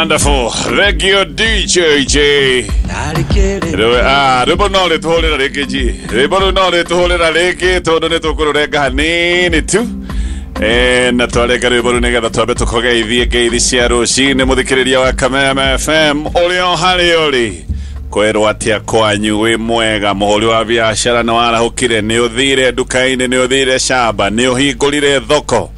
Wonderful. Thank you, DJ J. Rwĩmbo no rĩtũhũrĩra rĩngĩ G. Rwĩmbo rũu no rĩtũhũrĩra rĩngĩ tondũ nĩ tũkũrũrenga hanini tu. Na twarenga rwĩmbo rũu nĩgetha twambe tũkũgeithie ngeithi cia rũcinĩ mũthikĩrĩria wa Kameme FM ũrĩa o harĩa ũrĩ. Kwĩrwo atĩa kwanyu wĩ mwega mũhũri wa biacara nĩ warahũkire nĩ ũthire nduka-inĩ nĩ ũthire shamba nĩ ũhingũrire thoko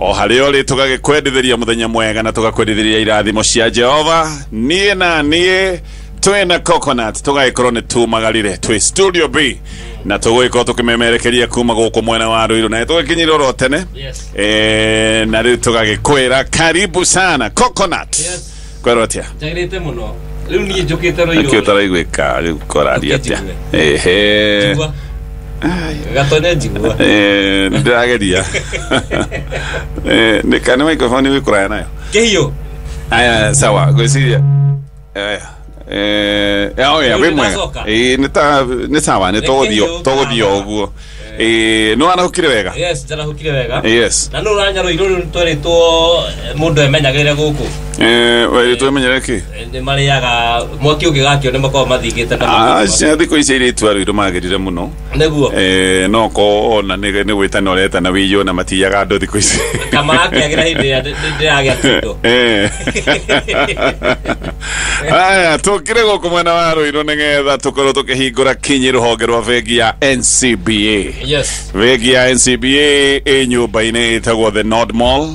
o harĩa ũrĩ tũgagĩkwendithĩria mũthenya mwega na tũgakwendithĩria irathimo cia Jehova. Niĩ na niĩ twĩna Coconut tũgagĩkorwo nĩ tumagarire twĩ Studio B na tũgũgĩkorwo tũkĩmemerekeria kuma gũkũ mwena wa Ruiru na tũgĩkinyire oro tene. Yes. Na rĩu tũgagĩkwĩra karibu sana Coconut. Yes. Kwĩrwo atĩa? Njagĩrĩte mũno. Rĩu niĩ njũkĩte Ruiru. Nĩkĩo ũtaraiguĩka rĩu kũraria atĩa? Ehe. Njigua. Gatonye njigua. Ndĩrageria. Nĩ kana microphone wĩ kũraya nayo? Kĩhiũ. Aya, sawa, ngwĩciria. Aya. Oh yeah, wĩ mwega. Nĩndacoka. Nĩ ta nĩ sawa, nĩ Nĩ tũgũthiĩ kĩhiũ tũgũthiĩ o ũguo. Nĩ warahũkire wega? Yes, njarahũkire wega. Yes. Na nũ ũranya Ruiru rĩu nĩtwerĩtwo mũndũ emenyagĩrĩre gũkũ. Werĩtwo emenyere kĩ? Nĩ marĩaga mwaki ũngĩgakio nĩ makoragwo mathingĩte na makoragwo- Aca thikũ ici airĩtu a Ruiru magĩrire mũno. Nĩguo. No ko ona nĩ gwĩtana ũretana wĩiywo na matiyaga andũ thikũ ici. Kamarakĩagĩra hĩndĩ ĩrĩa ndĩragĩa kĩndũ. Aya, tũkire gũkũ mwena wa Ruiru nĩgetha tũkorwo tũkĩhingũra kinyi rũhonge rwa bengi ya NCBA. Yes. Bengi ya NCBA ĩ nyũmba-inĩ ĩtagwo The Nord Mall,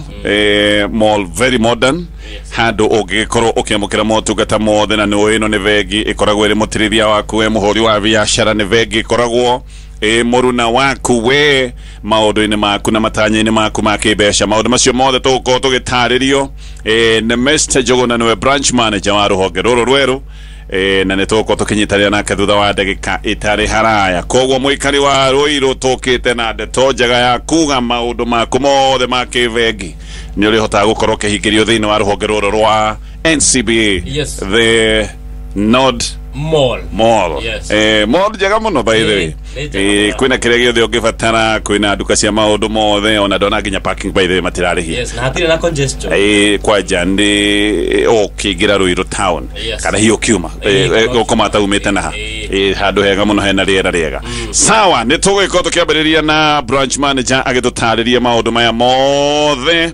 mall very modern. Handũ ũngĩgĩkorwo ũkĩamũkĩra motungata mothe na nĩ ĩno nĩ bengi ĩkoragwo ĩrĩ mũtirithia waku we mũhũri wa biacara, nĩ bengi ĩkoragwo ĩ mũruna waku we maũndũ-inĩ maku na matanya-inĩ maku ma kĩmbeca. Maũndũ macio mothe tũgũkorwo tũgĩtarĩrio nĩ Mr. Njuguna, nĩwe branch manager wa rũhonge rũrũ rwerũ. Na nĩ tũgũkorwo tũkĩnyitanĩra nake thutha wa ndagĩka ĩtarĩ haraya. Koguo mũikari wa Ruiru tũkĩte na ndeto njega ya kuga maũndũ maku mothe ma kĩbengi nĩ ũrĩhotaga gũkorwo ũkĩhingĩrio thĩinĩ wa rũhonge rũrũ rwa NCBA. Yes. The Nord Mall. Mall. Yes. Mall njega mũno by the way. Nĩ njega mũno. Kwĩna kĩrĩa gĩothe ũngĩbatara, kwĩna nduka cia maũndũ mothe, ona ndona nginya parking by the way matirarĩhia. Yes, na hatirĩ na congestion. Kwanja nĩ ũkĩingĩra Ruiru town. Yes. Kana hihi ũkiuma ũkoma taumĩte naha. Handũ hega mũno hena rĩera rĩega. Sawa, nĩ tũgũgĩkorwo tũkĩambĩrĩria na branch manager agĩtũtarĩria maũndũ maya mothe.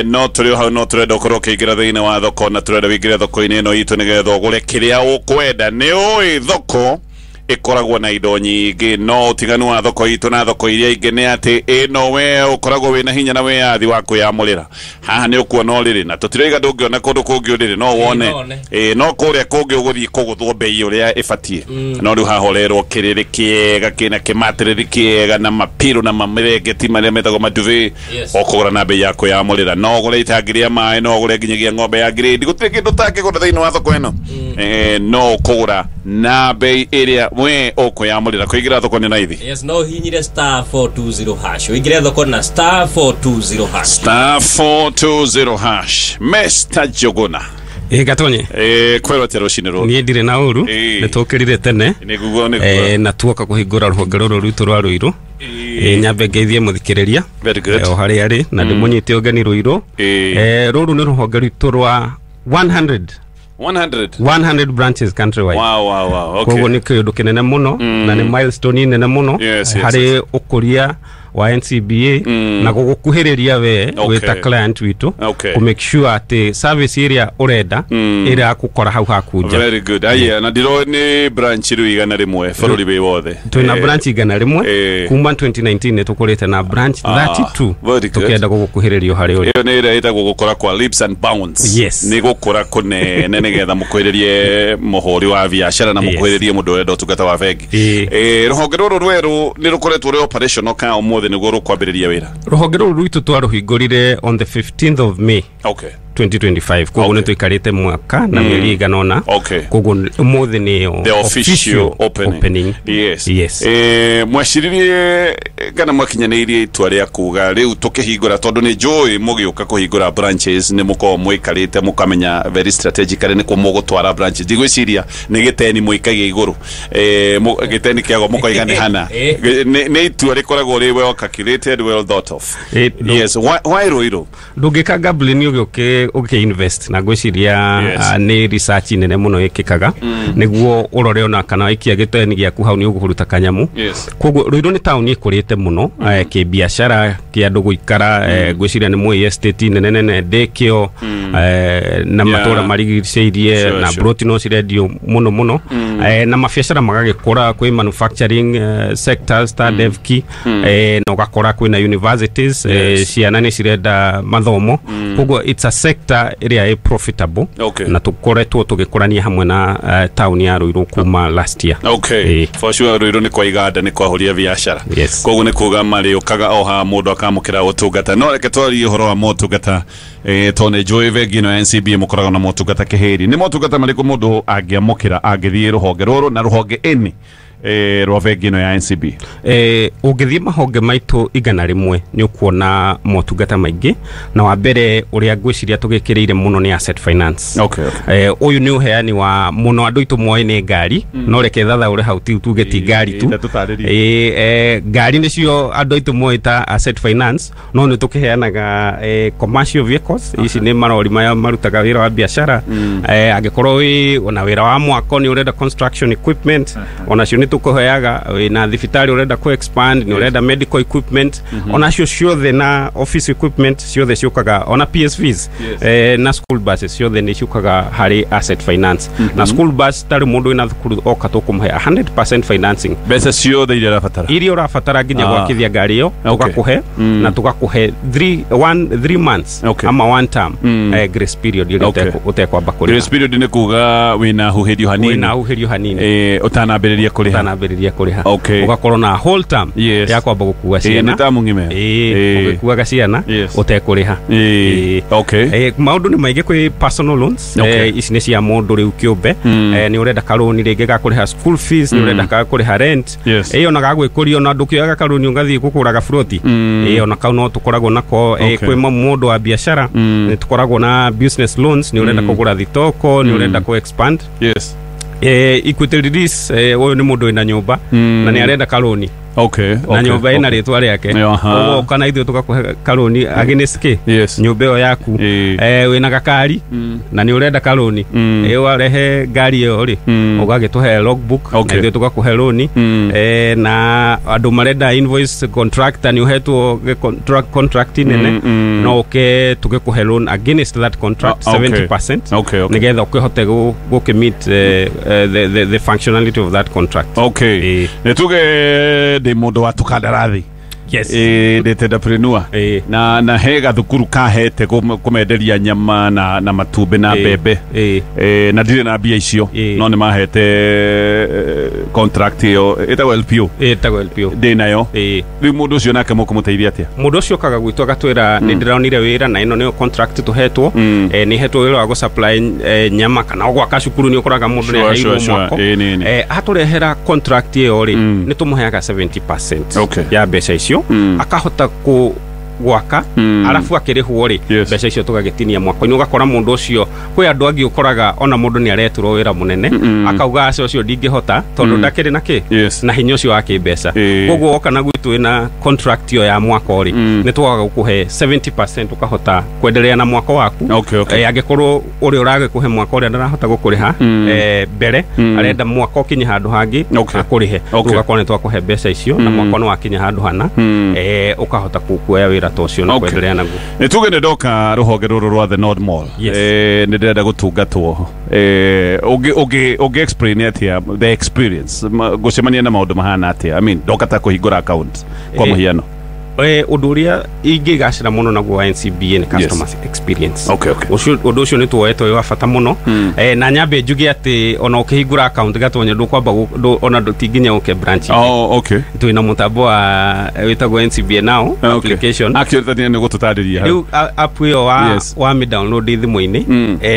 No tũrĩ o hau, no tũrenda ũkorwo ũkĩingĩra thĩinĩ wa thoko na tũrenda wĩingĩre thoko-inĩ ĩno itũ nĩgetha ũgũre kĩrĩa ũkwenda. Nĩ ũĩ thoko ĩkoragwo na indo nyingĩ, no ũtiganu wa thoko itũ na thoko iria ingĩ nĩ atĩ ĩno we ũkoragwo wĩna hinya na wĩyathi wa kwĩyamũrĩra. Haha nĩ ũkuona ũrĩrĩ na tũtirauga ndũngĩona kũndũ kũngĩ ũrĩrĩ, no wone. No wone. No kũrĩa kũngĩ ũgũthiĩ kũgũthwo bei ũrĩa ĩbatiĩ. No rĩu haha ũrerwo kĩrĩrĩ kĩega kĩna kĩmatĩrĩri kĩega na mapiro na mamĩrengeti marĩa metagwo maduve. Yes. Ũkũgũra na bei ya kwĩyamũrĩra. No ũgũre itangi rĩa maĩ, no ũgũre nginyagia ng'ombe ya grade. Gũtirĩ kĩndũ ũtangĩgũra thĩinĩ wa thoko ĩno. No ũkũgũra na bei ĩrĩa we ũkwĩyamũrĩra. Kũingĩra thoko nĩ raithi. Yes, no ũhihinyire star 420 hash. Ũingĩre thoko na star 420 hash. Star 420 hash. Mr. Njuguna. Gatonye. Kwĩrwo atĩa rũcinĩ rũrũ? Niĩ ndirĩ na ũru, nĩ tũkĩrire tene. Nĩguo, nĩguo. Na tuoka kũhingũra rũhonge rũrũ rwitũ rwa Ruiru. Nyambe ngeithie mũthikĩrĩria. Very good. O harĩa arĩ na ndĩmũnyite ũgeni Ruiru. Rũrũ nĩ rũhonge rwitũ rwa 100. 100. 100 branches countrywide. Wow. Okay. Koguo nĩ kĩũndũ kĩnene mũno na nĩ milestone nene mũno Yes, harĩ ũkũria wa NCBA na gũgũkuhĩrĩria we wĩta client witũ kũ make sure atĩ service ĩrĩa ũrenda ĩrakũkora hau haku nja. Very good. Aya, na ndĩroĩ nĩ branch rĩu 100 bũrũri wĩ wothe. Twĩna branch 100 kuma 2019 nĩ tũkũrĩte na branch 32. Very good. Tũkĩenda gũgũkuhĩrĩria harĩ ũrĩ. Ĩyo nĩ ĩrĩa ĩtagwo gũkũra kwa leaps and bounds. Yes. Nĩ gũkũra kũnene nĩgetha mũkuhĩrĩrie mũhũri wa biacara na mũkuhĩrĩrie mũndũ ũrenda ũtungata wa bengi. Rũhonge rũrũ rwerũ nĩ rũkoretwo rwĩ operational ka ũmũthĩ nĩguo rũkwambĩrĩria wĩra? Rũhonge rũrũ rwitũ twarũhingũrire on the 15th of May. 2025. Koguo nĩ tũikarĩte mwaka na mĩeri ĩigana ũna. Koguo ũmũthĩ nĩyo the official opening. Yes. Yes. Mweciririe kana mwakinyanĩirie itua rĩa kuga rĩu tũkĩhingũra, tondũ nĩ njũĩ mũgĩũka kũhingũra branches nĩ mũkoragwo mũikarĩte mũkamenya very strategically nĩ kũ mũgũtwara branches. Ndigwĩciria nĩ gĩteni mũikagia igũrũ. Gĩteni kĩago mũkoiga nĩ hana. Nĩ itua rĩkoragwo rĩ well calculated, well thought of. Yes. Why Ruiru? Ndũngĩka gambling ũgĩũke ũkĩ invest na ngwĩciria nĩ research nene mũno ĩkĩkaga nĩguo ũrore ona kana waikia gĩteni gĩaku hau nĩ ũkũruta kanyamu. Koguo Ruiru nĩ taũni ĩkũrĩte mũno kĩbiacara kĩa andũ gũikara, ngwĩciria nĩ mũĩ estate nene nene ndĩkĩo na matũra marigicĩirie na broti no cirendio mũno mũno, na mabiacara magagĩkũra, kwĩ manufacturing sectors ta Devki, na ũgakora kwĩna universities, ciana nĩ cirenda mathomo. Koguo it's a sector ĩrĩa ĩ profitable. Na tũkoretwo tũgĩkũrania hamwe na taũni ya Ruiru kuma last year. For sure Ruiru nĩ kwa iganda, nĩ kwahuria biacara. Koguo nĩ kuga marĩũkaga o haha mũndũ akamũkĩra ũtungata. No reke twarie ũhoro wa motungata, tondũ nĩ njũĩ bengi ĩno ya NCBA mũkoragwo na motungata kĩhĩri. Nĩ motungata marĩkũ mũndũ angĩamũkĩra angĩthiĩ rũhonge rũrũ na rũhonge ĩnĩ rwa bengi ĩno ya NCB? Ũngĩthiĩ mahonge maitũ 100 nĩ ũkuona motungata maingĩ, na wa mbere ũrĩa ngwĩciria tũgĩkĩrĩire mũno nĩ asset finance. Ũyũ nĩ ũheani wa mũno andũ aitũ moĩ nĩ ngari, no reke thathaũre hau tuge ti ngari tu. Ngari nĩcio andũ aitũ moĩ ta asset finance, no nĩ tũkĩheanaga commercial vehicles. Ici nĩ marori maya marutaga wĩra wa biacara. Angĩkorwo wĩ ona wĩra wa mwako nĩ ũrenda construction equipment, onacio nĩ tũkũheaga. Wĩna thibitarĩ ũrenda ku expand, nĩ ũrenda medical equipment, onacio ciothe na office equipment ciothe ciũkaga, ona PSVs na school buses ciothe nĩ ciũkaga harĩ asset finance. Na school bus tarĩ mũndũ wĩna thukuru oka tũkũmũhe 100% financing, mbeca ciothe iria ũrabatara, iria ũrabatara nginya gwakithia ngari ĩyo tũgakũhe, na tũgakũhe 3 months ama 1 term grace period ĩrĩa ũtekwamba kũrĩha. Grace period nĩ kuga wĩna huhĩrio hanini, wĩna huhĩrio hanini ũtanambĩrĩria kũrĩha, ũtanambĩrĩria kũrĩha. Ũgakorwo na whole term ya kwamba gũkua ciana, nĩ tamu ng'ima, ũgĩkuaga ciana ũtekũrĩha. Maũndũ nĩ maingĩ, kwĩ personal loans, ici nĩ cia mũndũ rĩu kĩũmbe, nĩ ũrenda karũni rĩngĩ ga kũrĩha school fees, nĩ ũrenda ga kũrĩha rent, ona ga gwĩkũria, ona ndũkĩoyaga karũni ũgathiĩ gũkũraga buroti, ona kau no tũkoragwo nako. Kwĩ mũndũ wa biacara nĩ tũkoragwo na business loans, nĩ ũrenda kũgũra thitoko, nĩ ũrenda kũ expand. Equity release, ũyũ nĩ mũndũ wĩna nyũmba na nĩ arenda karũni. Na nyũmba ĩna rĩtwa rĩake, ũguo kana ithuĩ tũgakũhe karũni against kĩ nyũmba ĩyo yaku. Wĩna gakari na nĩ ũrenda karũni, warehe ngari ĩyo rĩ, ũgagĩtũhe logbook na ithuĩ tũgakũhe rũni. Na andũ marenda invoice contractor, nĩ ũhetwo contract nene, no ũke tũgĩkũhe loan against that contract 70%, nĩgetha ũkĩhote gũkĩ meet the functionality of that contract. Nĩ tuge ndĩ mũndũ wa tũkandarathi, ndĩ entrepreneur, na he gathukuru kahete kũmenderia nyama na matumbĩ na mbembe, na ndirĩ na mbia icio, no nĩ mahete contract ĩyo ĩtagwo LPO, ĩtagwo LPO ndĩ nayo. Rĩu mũndũ ũcio nake mũkũmũteithia atĩa? Mũndũ ũcio okaga gwitũ agatwĩra nĩ ndĩronire wĩra na ĩno nĩyo contract tũhetwo, nĩ hetwo wĩra wa gũ-supply nyama kana gwaka cukuru, nĩ ũkoraga mũndũ nĩ aheirwo mwako. Atũrehera contract ĩyo rĩ, nĩ tũmũheaga 70% ya mbeca icio, akahota ku gwaka, arabu akĩrĩhwo rĩ, mbeca icio tũgagĩtinia mwako-inĩ. Ũgakora mũndũ ũcio, kwĩ andũ angĩ ũkoraga ona mũndũ nĩ areturwo wĩra mũnene, akauga aca ũcio ndingĩhota tondũ ndakĩrĩ na kĩ na hinya ũcio wa kĩmbeca. Koguo woka na gwitũ wĩna contract ĩyo ya mwako rĩ, nĩ twaga gũkũhe 70% ũkahota kwenderea na mwako waku. Angĩkorwo ũrĩa ũragĩkũhe mwako ũrĩa ndarahota gũkũrĩha mbere, arenda mwako ũkinye handũ hangĩ akũrĩhe, ũgakorwo nĩ twakũhe mbeca icio na mwako nĩ wakinya handũ hana, ũkahota kuoya wĩra tocio na kwendelea naguo. Nĩ tuge nĩ ndoka rũhonge rũrũ rwa The Nord Mall, nĩ ndĩrenda gũtungatwo, ũngĩ explain atĩa the experience, gũcemania na maũndũ mahana atĩa? I mean, ndoka ta kũhingũra account kwa mũhiano. Ũndũ ũrĩa ingĩgacĩra mũno naguo wa NCBA nĩ customer experience. Ũndũ ũcio nĩ tuoetwo wĩ wa bata mũno, na nyambe njuge atĩ ona ũkĩhingũra account gatonya ndũkwamba ona ti nginya ũke branch. Twĩna mũtambo wa wĩtagwo NCBA Now application. Actually nĩ gũtũtarĩria rĩu app ĩyo wa mĩ download thimũ-inĩ,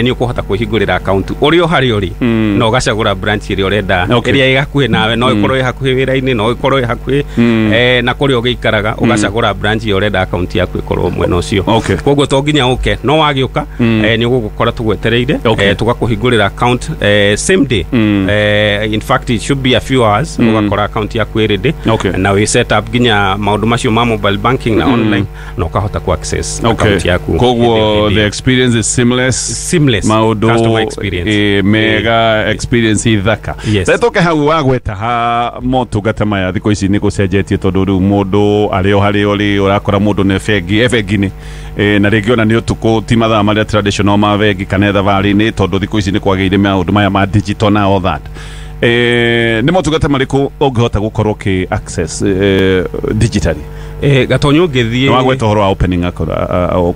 nĩ ũkũhota kwĩhingũrĩra account ũrĩ o harĩa ũrĩ, na ũgacagũra branch ĩrĩa ũrenda, ĩrĩa ĩ hakuhĩ nawe, no ĩkorwo ĩ hakuhĩ wĩra-inĩ, no ĩkorwo ĩ hakuhĩ na kũrĩa ũgĩikaraga, ũgacagũra Ũgacagũra branch ĩrĩa ũrenda account yaku ĩkorwo mwena ũcio. Koguo to nginya ũke, no wagĩũka nĩ ũgũgũkora tũgwetereire, tũgakũhingũrĩra account same day. In fact, it should be a few hours, ũgakora account yaku ĩ ready na wĩ set up nginya maũndũ macio ma mobile banking na online, na ũkahota ku access account yaku. Koguo the experience is seamless. Seamless maũndũ customer experience. Mega experience ithaka. Tetoke hau wagweta ha motungata maya thikũ ici nĩ gũcenjetie, tondũ rĩu mũndũ arĩ o harĩa ũrĩ ũrakora mũndũ nĩ bengi bengi-inĩ, na rĩngĩ ona nĩ ũtukũ, ti mathaa marĩa traditional ma bengi kana thabarĩ-inĩ, tondũ thikũ ici nĩ kwagĩire maũndũ maya ma digital na all that. Nĩ motungata marĩkũ ũngĩhota gũkorwo ũkĩ access digitally? Gatonyo, ũngĩthiĩ Wagweta ũhoro wa opening account,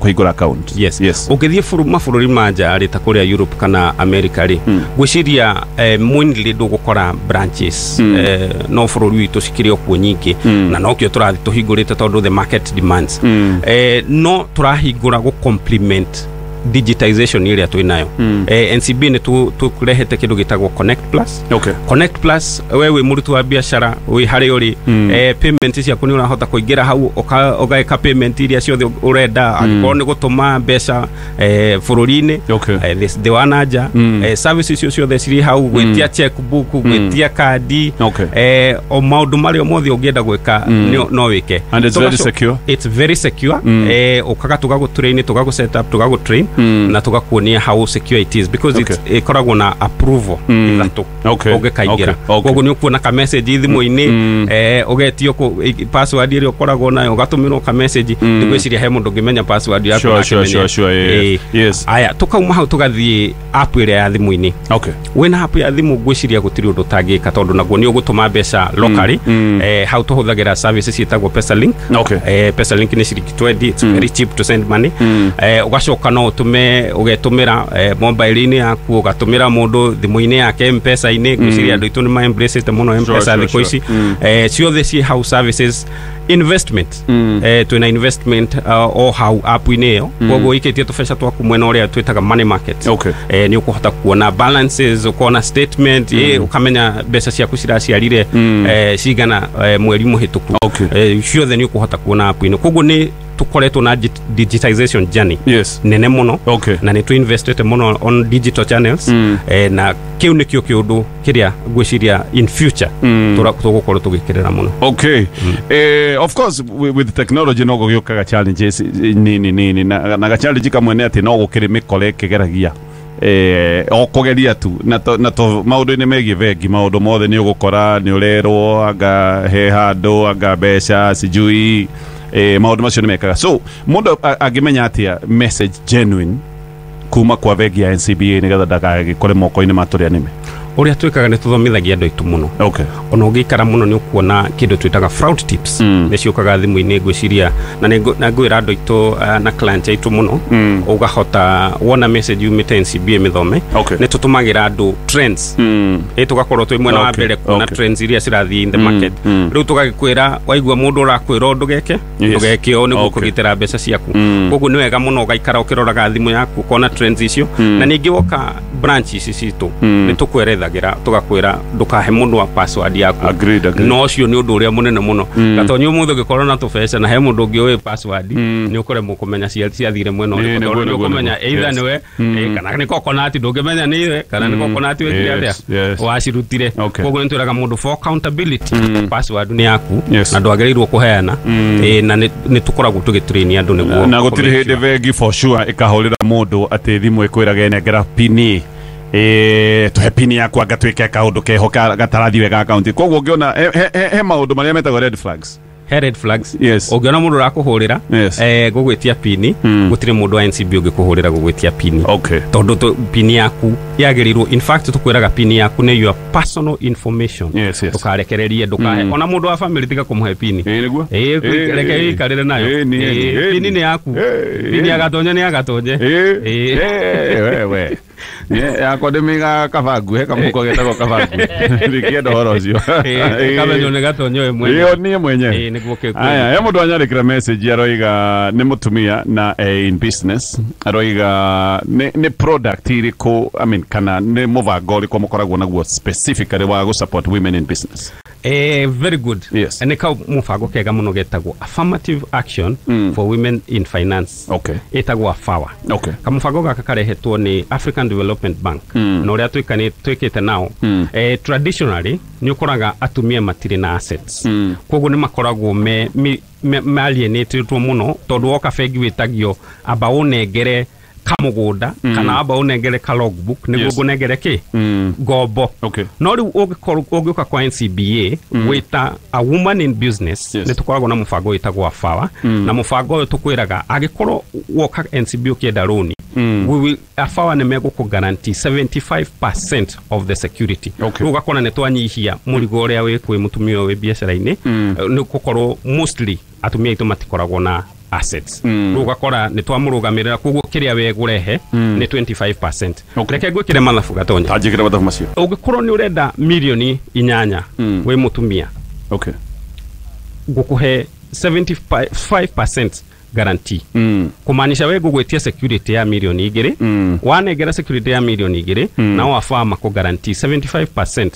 kũhingũra account. Yes. Yes. Ũngĩthiĩ mabũrũri ma nja rĩ, ta kũrĩa Europe kana America rĩ, ngwĩciria mainly ndũgũkora branches, no bũrũri witũ cikĩrĩ o kuo nyingĩ, na nokĩo tũrathiĩ tũhingũrĩte tondũ the market demands. No tũrahingũra gũ complement digitization ĩrĩa twĩ nayo. NCB nĩ tũrehete kĩndũ gĩtagwo Connect Plus. Connect Plus, we wĩ mũruti wa biacara wĩ harĩa ũrĩ, payment ciaku nĩ ũrahota kũingĩra hau ũgeka payment iria ciothe ũrenda, angĩkorwo nĩ gũtũma mbeca bũrũri-inĩ, thĩ wa na nja, services icio ciothe cirĩ hau, gwĩtia checkbook, gwĩtia kandi, o maũndũ marĩa mothe ũngĩenda gwĩka no wĩke. And it's very secure. It's very secure. Ũkaga tũgagũ-train, tũgagũ set up, tũgagũ-train na tũgakuonia how secure it is, because it's ĩkoragwo na approval ithatũ ũngĩkaingĩra. Koguo nĩ ũkuona ka message thimũ-inĩ, ũgetio password ĩrĩa ũkoragwo nayo, ũgatũmĩrwo ka message. Ndigwĩciria he mũndũ ũngĩmenya password yaku. Sure. Aya, tukauma hau tũgathiĩ app ĩrĩa ya thimũ-inĩ. Wĩna app ya thimũ, ngwĩciria gũtirĩ ũndũ ũtangĩka, tondũ naguo nĩ ũgũtũma mbeca locally. Hau tũhũthagĩra services ciĩtagwo PesaLink. PesaLink nĩ ciringi 20. It's very cheap to send money. Ũgacoka no ũtũme, ũgetũmĩra mobile-inĩ yaku, ũgatũmĩra mũndũ thimũ-inĩ yake M-Pesa-inĩ. Ngwĩciria andũ aitũ nĩ ma embrace mũno M-Pesa thikũ ici. Ciothe ciĩ hau services. Investment, twĩna investment o hau app-inĩ ĩyo. Koguo ũikĩtie tũbeca twaku mwena ũrĩa twĩtaga money market, nĩ ũkũhota kuona balances, ũkona statement, ũkamenya mbeca ciaku ciraciarire cigana mweri mũhĩtũku. Ciothe nĩ ũkũhota kuona app-inĩ. Koguo nĩ tũkoretwo na digitization journey nene mũno, na nĩ tũ-investĩte mũno on digital channels, na kĩu nĩkĩo kĩũndũ kĩrĩa ngwĩciria in future tũgũkorwo tũgĩkĩrĩra mũno. Okay. Of course, with technology no gũgĩũkaga challenges nini nini, na ga challenge kamwe nĩ atĩ no gũkĩrĩ mĩkora ĩkĩgeragia o kũgeria tu na to maũndũ-inĩ megiĩ bengi, maũndũ mothe nĩ ũgũkora nĩ ũrerwo anga he handũ anga mbeca sijui, maũndũ macio nĩ mekaga. So mũndũ angĩmenya atĩa message genuine kuma kwa bengi ya NCBA nĩgetha ndagagĩkore moko-inĩ ma tũrĩa nĩme? Ũrĩa twĩkaga nĩ tũthomithagia andũ aitũ mũno. Ona ũngĩikara mũno nĩ ũkuona kĩndũ twĩtaga fraud tips, nĩ ciũkaga thimũ-inĩ. Ngwĩciria na na ngwĩra andũ aitũ na client aitũ mũno, ũgahota wona message yumĩte NCBA, mĩthome. Nĩ tũtũmagĩra andũ trends, ĩ tũgakorwo twĩ mwena wa mbere kuona trends iria cirathiĩ in the market. Rĩu tũgagĩkwĩra, waigua mũndũ ũrakwĩra ũndũ geke, ndũgeke ũũ nĩguo kũgitĩra mbeca ciaku. Koguo nĩ wega mũno ũgaikara ũkĩroraga thimũ yaku, ũkona trends icio. Na ningĩ woka branch ici citũ, nĩ tũkwerethagĩra, tũgakwĩra ndũkahe mũndũ wa password yaku. Agreed. No ũcio nĩ ũndũ ũrĩa mũnene mũno, gatonyi ũmũthĩ ũngĩkorwo na tũbeca na he mũndũ ũngĩ ũĩ password, nĩ ũkũremwo kũmenya ciathire mwena ũrĩkũ, tondũ nĩ ũkũmenya either nĩwe, kana nĩ coconut, ndũngĩmenya nĩ ithe kana nĩ coconut wĩkire atĩa wacirutire. Koguo nĩ twĩraga mũndũ for accountability, password nĩ yaku na ndwagĩrĩirwo kũheana. Na nĩ tũkoragwo tũgĩtrain andũ nĩguo Na gũtirĩ kũ-make hĩndĩ sure. bengi for sure ĩkahũrĩra mũndũ atĩ thimũ ĩkwĩrage nengera pini, tũhe pini yaku anga twĩke kaũndũ keho gatarathiĩ wega akaunti. Koguo ũngĩona he maũndũ marĩa metagwo red flags. He red flags. Ũngĩona mũndũ ũrakũhũrĩra gũgwĩtia pini, gũtirĩ mũndũ wa NCB ũngĩkũhũrĩra gũgwĩtia pini, tondũ pini yaku yagĩrĩirwo, in fact tũkwĩraga pini yaku nĩ your personal information. Ndũkarekererie, ndũkahe ona mũndũ wa family, tiga kũmũhe pini. Ĩĩ, nĩguo. Ĩĩ, reke wĩikarĩre nayo. Ĩĩ, Ĩĩ, ĩĩ, pini nĩ yaku. Ĩĩ, Pini ĩĩ. ya gatonye nĩ ya gatonye. Ĩĩ, Ĩĩ. ĩĩ, wewe. Yakwa ndĩmĩigaga kaba nguhe kamũhuko getagwo kaba nguhe. Ndingĩenda ũhoro ũcio. Kamenyo nĩ Gatonye we mwenyewe. Ĩyo niĩ mwenyewe. Nĩguo kĩkwĩra. Aya, he mũndũ anyandĩkĩra message aroiga nĩ mũtumia na in business aroiga nĩ product irĩkũ, I mean, kana nĩ mũbango ũrĩkũ mũkoragwo naguo specifically wa gũ support women in business? Very good. Yes. Nĩ ka mũbango kega mũno getagwo Affirmative Action for Women in Finance. Okay. Ĩtagwo AFAWA. Okay. Kamũbango gaka karehetwo nĩ African Development Bank na ũrĩa twĩkĩte nao. Traditionally nĩ ũkoraga atumia matirĩ na assets. Koguo nĩ makoragwo me alienatedwo mũno tondũ woka bengi wĩtagio amba ũnengere kamũgũnda kana amba ũnengere ka logbook nĩguo ngũnengere kĩ ngombo. Okay. No rĩu ũngĩũka kwa NCBA wĩta a woman in business, nĩ tũkoragwo na mũbango wĩtagwo AFAWA, na mũbango ũyũ tũkwĩraga angĩkorwo woka NCBA ũkĩenda rũni, AFAWA nĩ megũkũ guarantee 75% of the security. Okay. Rĩu ũgakora nĩ twanyihia mũrigo ũrĩa wĩ kwĩ mũtumia ũyũ wĩ biacara-inĩ, nĩ gũkorwo mostly atumia aitũ matikoragwo na assets. Rĩu ũgakora nĩ twamũrũgamĩrĩra, koguo kĩrĩa we gũrehe nĩ 25%. Okay. Reke ngwĩkĩre mathabu Gatonya. Anjĩkĩre mathabu macio. Ũngĩkorwo nĩ ũrenda 8 milioni wĩ mũtumia, Okay. ngũkũhe 75% guarantee. Kumaanisha we ngũgwĩtia security ya 2 milioni, wanengera security ya 2 milioni, nao AFAWA makũ guarantee 75%.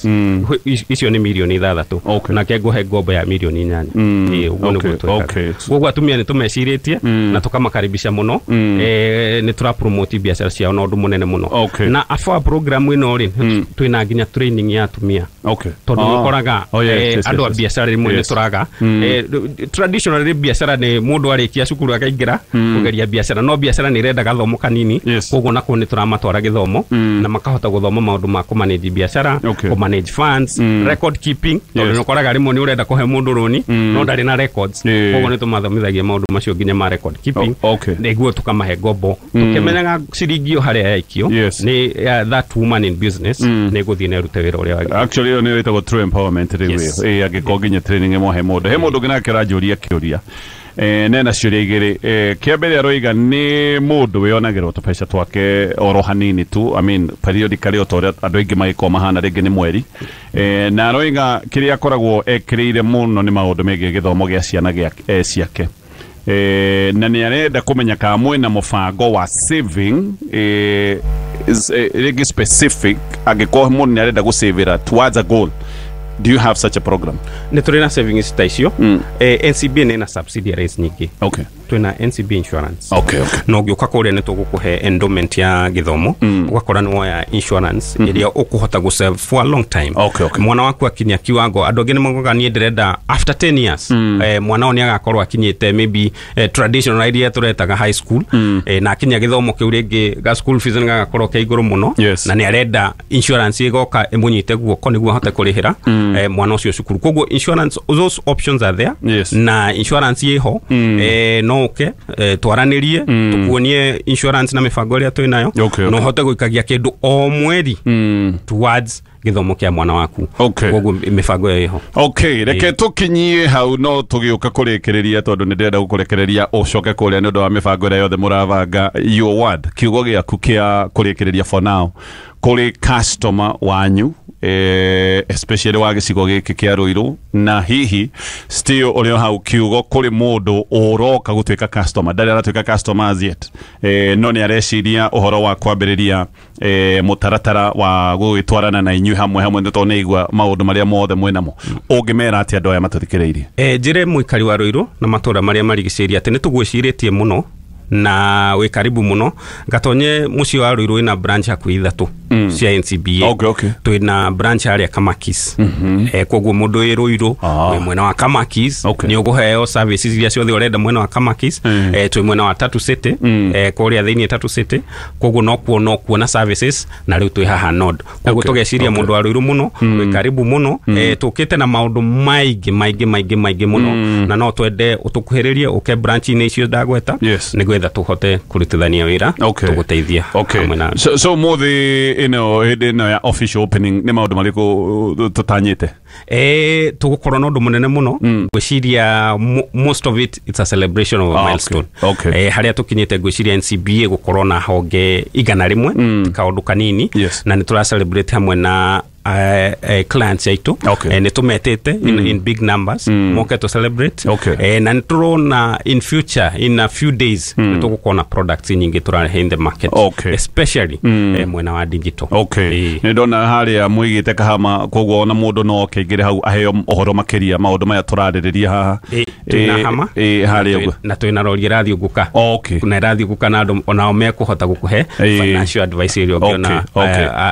Icio nĩ 6 milioni. Okay. Nake ngũhe ngombo ya 8 milioni. Ũguo nĩguo twĩkaga. Koguo atumia nĩ tũmecirĩtie na tũkamakaribisha mũno. Nĩ tũra promote biacara ciao na ũndũ mũnene mũno. Okay. Na AFAWA program ĩno rĩ, twĩna nginya training ya atumia. Okay. Tondũ nĩ ũkoraga andũ a biacara rĩmwe nĩ tũraga. Traditionally biacara nĩ mũndũ arĩkia cukuru akaingĩra kũgeria biacara, no biacara nĩ ĩrenda gathomo kanini. Yes. Koguo nakuo nĩ tũramatwara gĩthomo na makahota gũthoma maũndũ ma kũmanage biacara, Okay. kũmanage funds, record keeping, tondũ nĩ ũkoraga rĩmwe nĩ ũrenda kũhe mũndũ rũni no ndarĩ na records. Yeah. Koguo nĩ tũmathomithagia maũndũ macio nginya ma record keeping. Okay. Nĩguo tũkamahe ngombo tũkĩmenyaga ciringi ĩyo harĩa yaikio Yes. nĩ that woman in business nĩ gũthiĩ na ĩrute wĩra ũrĩa wagĩrĩire. Actually ĩyo nĩyo ĩtagwo true empowerment rĩu Yes. ĩyo. Angĩkorwo nginya training ĩmwe he mũndũ. He mũndũ ũngĩ nake aranjũria kĩũria. Nena ciũria igĩrĩ. Kĩa mbere aroiga nĩ mũndũ wĩonagĩrwo tũbeca twake oro hanini tu, I mean periodically o ta ũrĩa andũ aingĩ magĩkorwo mahana rĩngĩ nĩ mweri. Na aroiga kĩrĩa akoragwo ekĩrĩire mũno nĩ maũndũ megiĩ gĩthomo gĩa ciana ciake. Na nĩ arenda kũmenya kana mwĩna mũbango wa saving rĩngĩ specific angĩkorwo mũndũ nĩ arenda gũsavĩra towards a goal. Do you have such a program? Nĩ tũrĩ na savings ta icio. NCBA nĩ na subsidiaries nyingĩ. Okay. Twĩna NCBA Insurance. Okay, okay. Na ũngĩũka kũrĩa nĩ tũgũkũhe endowment ya gĩthomo, ũgakora nĩ woya insurance ĩrĩa ũkũhota gũ save for a long time. Okay, okay. Mwana waku akinya kiwango, andũ angĩ nĩ maugaga niĩ ndĩrenda after 10 years, mwana ũyũ nĩ agakorwo akinyĩte maybe traditional iria tũretaga high school, na akinya gĩthomo kĩu rĩngĩ ga school fees nĩ gagakorwo ke igũrũ mũno. Yes. Na nĩ arenda insurance ĩgoka ĩmũnyite guoko nĩguo ahote kũrĩhĩra mwana ũcio cukuru. Koguo insurance, those options are there. Yes. Na insurance ĩho, no ũke twaranĩrie, tũkuonie insurance na mĩbango ĩrĩa twĩ nayo. Okay, okay. Na ũhote gũikagia kĩndũ o mweri towards gĩthomo kĩa mwana waku. Okay. Koguo mĩbango ĩyo ĩho. Okay, reke tũkinyie hau no tũgĩũka kũrĩkĩrĩria tondũ nĩ ndĩrenda gũkũrekereria ũcoke kũrĩa nĩ ũndũ wa mĩbango ĩrĩa yothe mũrabanga. Your word, kiugo gĩaku kĩa kũrĩkĩrĩria for now kũrĩ customer wanyu, especially wa gĩcigo gĩkĩ kĩa Ruiru, na hihi still ũrĩ o hau kiugo kũrĩ mũndũ ũroka gũtuĩka customer, ndarĩ aratuĩka customer as yet, no nĩ areciria ũhoro wa kwambĩrĩria mũtaratara wa gũgĩtwarana na inyuĩ hamwe hamwe, nĩ tondũ nĩ aigua maũndũ marĩa mothe mwĩnamo. Ũngĩmera atĩa andũ aya matũthikĩrĩirie? Njĩre mũikari wa Ruiru na matũũra marĩa marigicĩirie atĩ nĩ tũgwĩcirĩtie mũno na wĩ karibu mũno. Gatonye mũciĩ wa Ruiru wĩna branch hakuhĩ 3 cia NCBA. Okay, okay. Twĩna branch harĩa Kamakis. Koguo mũndũ wĩ Ruiru wĩ mwena wa Kamakis, Okay. nĩ ũkũheo services iria ciothe ũrenda mwena wa Kamakis. Twĩ mwena wa Tatu City, kũrĩa thĩinĩ Tatu City. Koguo no kuona services, na rĩu twĩ haha Nord. Koguo Okay. tũgeciria Okay. mũndũ wa Ruiru mũno, wĩ karibu mũno. Tũkĩte na maũndũ maingĩ maingĩ maingĩ maingĩ mũno, na no twende ũtũkuhĩrĩrie ũke branch-inĩ icio ndagweta, Yes. nĩgetha Nĩgetha tũhote kũrutithania wĩra, tũgũteithia hamwe na. So mũthĩ ĩno, hĩndĩ ĩno ya official opening, nĩ maũndũ marĩkũ tũtanyĩte? Tũgũkorwo na ũndũ mũnene mũno. Ngwĩciria most of it, it's a celebration of a milestone. Harĩa tũkinyĩte, ngwĩciria NCBA gũkorwo na honge 100 ti kaũndũ kanini. Na nĩ tũra celebrate hamwe na clients aitũ. Nĩ tũmetĩte in big numbers moke to celebrate. Na nĩ tũrona in future, in a few days, nĩ tũgũkorwo na products nyingĩ tũrarehe in the market, especially mwena wa digital. Nĩ ndona harĩa mwĩgĩte Kahama, koguo ona mũndũ no oke aingĩre hau aheo ũhoro makĩria maũndũ maya tũrarĩrĩria haha. Twĩna Hama harĩa ũguo. Na twĩna rori ĩrathiũngũka na ĩrathiũngũka na andũ onao mekũhota gũkũhe financial advice ĩrĩa ũngĩona,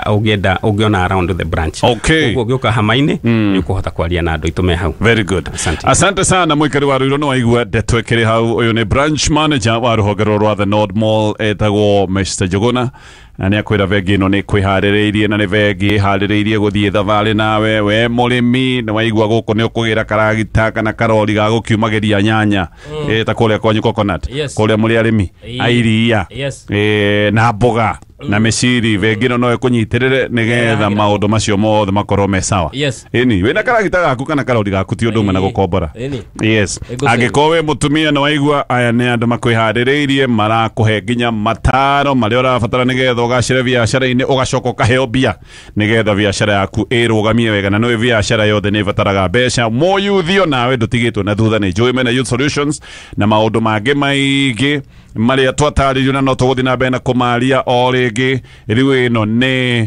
ũngĩenda, ũngĩona around the branch. Koguo ũngĩũka Hama-inĩ nĩ ũkũhota kwaria na andũ aitũ me hau. Very good. Asante. Asante sana, mwikari wa Ruiro. No waigua ndeto ĩkĩrĩ hau. Ũyũ nĩ branch manager wa rũhonge rũrũ rwa The Nord Mall, etagwo Mr Njuguna, na nĩ akwĩra bengi ĩno nĩ kwĩharĩrĩirie na nĩ bengi ĩharĩrĩirie gũthiĩ thabarĩ nawe we mũrĩmi. Nĩ waigua gũkũ nĩ ũkũgĩra karagita kana karori ga gũkiumagĩria nyanya, ta kũrĩa kwanyu Coconut, kũrĩa mũrĩ arĩmi a iria, na mboga na mĩciri. Bengi ĩno no ĩkũnyitĩrĩre nĩgetha maũndũ macio mothe makorwo me sawa. Ĩni wĩna karagita gaku kana karori gaku ti ũndũ ũmwe na gũkombora. Ĩgũcĩrwo. Angĩkorwo wĩ mũtumia, nĩ waigua aya nĩ andũ makwĩharĩrĩirie, marakũhe nginya mataro marĩa ũrabatara nĩgetha ũgacĩre biacara-inĩ, ũgacoka ũkaheo mbia nĩgetha biacara yaku ĩrũgamie wega. Na nĩũĩ biacara yothe nĩ ĩbataraga mbeca. Mũyuthi nawe ndũtigĩtwo na thutha, nĩ njũĩ mena Youth Solutions na maũndũ mangĩ maingĩ marĩa twatarĩrio na no tũgũthiĩ na mbere na kũmaria o rĩngĩ. Rĩu ĩno nĩ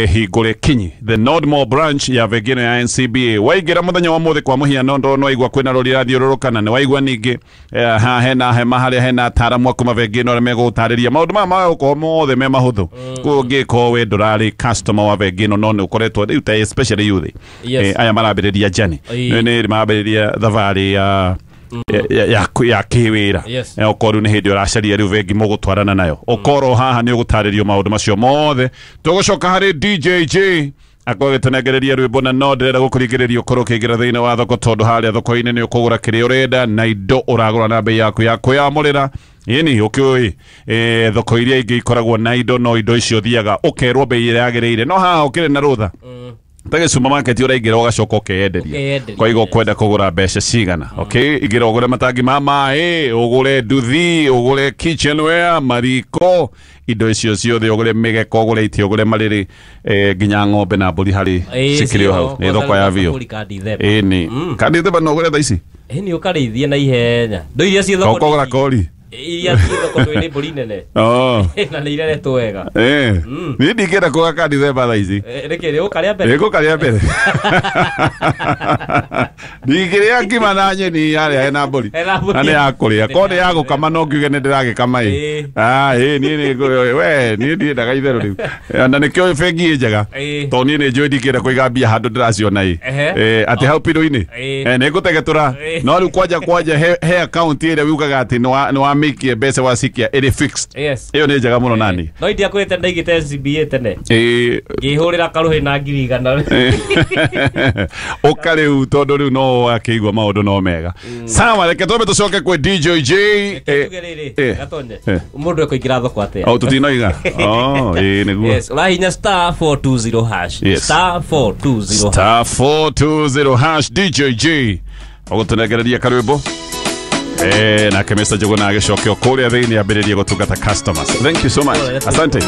hingũre kinyi the Nordmore branch ya bengi ĩno ya NCBA. Waingĩra mũthenya wa mũthĩ, kwa mũhiano, ndo waigua kwĩna rori ĩrathiũrũrũka, na nĩ waigua ningĩ haha hena hema harĩa hena ataaramu a kuma bengi ĩno arĩa megũgũtarĩria maũndũ maya magũkorwo mothe me mahũthũ. Koguo ũngĩkorwo we ndũrarĩ customer wa bengi ĩno, no nĩ ũkoretwo rĩu ta especially youth, aya marambĩrĩria journey, nĩ marambĩrĩria thabarĩ ya kĩwĩra. Okorwo rĩu nĩ hĩndĩ ũracaria rĩu bengi mũgũtwarana nayo, ũkorwo haha nĩ ũgũtarĩrio maũndũ macio mothe. Tũgũcoka harĩ DJJ akorwo agĩtũnengereria rwĩmbo, na no ndĩrenda gũkũringĩrĩria ũkorwo ũkĩingĩra thĩinĩ wa thoko, tondũ harĩa thoko-inĩ nĩ ũkũgũra kĩrĩa ũrenda na indo ũragũra na bei yaku ya kwĩyamũrĩra. Ĩni ũkĩũĩ thoko iria ingĩ ikoragwo na indo, no indo icio thiaga ũkerwo bei ĩrĩa yagĩrĩire, no haha ũkĩrĩ na rũtha ta gĩ supermarket, ũraingĩra ũgacoka ũkeyenderia. Ũkeyenderia, kwa higo yes. ũkwenda kũgũra mbeca cigana, okay, ingĩra ũgũre matangi ma maĩ, ũgũre nduthi, ũgũre kitchenware, mariko, indo icio ciothe, ũgũre mĩgeka, ũgũre itĩ, ũgũre marĩrĩ, nginya ng'ombe na mbũri harĩ cikĩrĩ o hau. Nĩ thoko ya biũ. Ĩni kandi themba no ũgũre thaa ici. Ĩni ũkarĩithie na ihenya ndo iria ciĩ thoko. Ũkogũra kori. Iria ciĩ thoko ndũĩ nĩ mbũri nene na nĩ ireretwo wega. Niĩ ndingĩenda kũgũra kandi themba thaa ici. Nĩkĩ? Nĩ ũkarĩa mbere? Nĩngũkarĩa mbere. Ndingĩrĩa ngima na nyeni harĩa hena mbũri. Hena mbũri. Na nĩ ya kũrĩa korwo nĩ ya gũkama no ngiuge nĩ ndĩragĩkama ĩ. Ah, ĩ niĩ nĩ we niĩ ndiendaga itherũ rĩu. Na nĩkĩo bengi ĩ njega, tondũ niĩ nĩ njũĩ ndingĩenda kũiga mbia handũ ndĩraciona ĩ. Atĩ hau piru-inĩ. Nĩ ngũtegetũra. No rĩu kwanja he account ĩrĩa wiugaga atĩ nĩ wamĩikie mbeca, wacikia ĩrĩ fixed. Ĩyo nĩ njega mũno nani. No indiakwĩte ndaigĩte NCBA tene, ngĩhũrĩra karũhĩ na 100,000. Ũka rĩu, tondũ rĩu no akĩigua maũndũ no mega. Sawa, reke twambe tũcoke kwĩ DJJ. Tuge rĩrĩ, gatonye mũndũ ekũingĩra thoko atĩa? O tũtinoiga, oh, ĩ nĩguo. Yes, ũrahinya *420#. *420#. *420# DJJ ũgũtũnengereria karwĩmbo, nake Mr. Njuguna agĩcoke o kũrĩa thĩinĩ ambĩrĩrie gũtungata customers. Thank you so much. Asante.